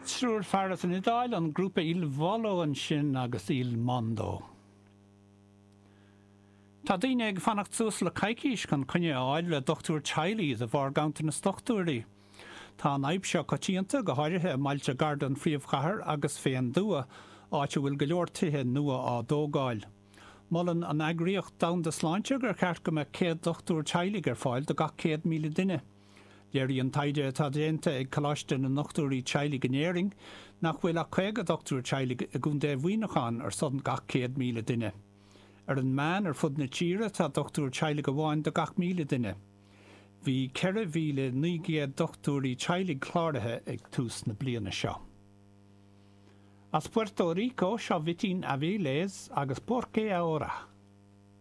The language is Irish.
Triúr fear as an Iodáil, an grúpa Il Volo ansin agus Il Mondo. Tá daoine ag fanacht suas le coicís chun coinne a fháil le dochtúir teaghlaigh de bharr ganntanas dochtúirí. Tá an fhadhb seo coitianta, go háirithe i mbailte gar don phríomhchathair agus fén dtuath, áit a bhfuil go leor tithe nua á dtógáil. Molann an Eagraíocht Domhanda Sláinte gur cheart go mbeadh 100 dochtúir teaghlaigh ar fáil do gach 100,000 duine. Léiríonn taighde atá déanta ag Coláiste na nDochtúirí Teaghlaigh in Éirinn nach bhfuil ach 50 dochtúir teaghlaigh i gContae Mhuineacháin ar son gach 100,000 duine. Ar an meán ar fud na tíre tá dochtúir teaghlaigh amháin do gach 1,000 duine. Bhí 4,900 dochtúirí teaghlaigh cláraithe ag tús na bliana seo. As Puerto Rico seo Vitín Avilés agus Porque Ahora.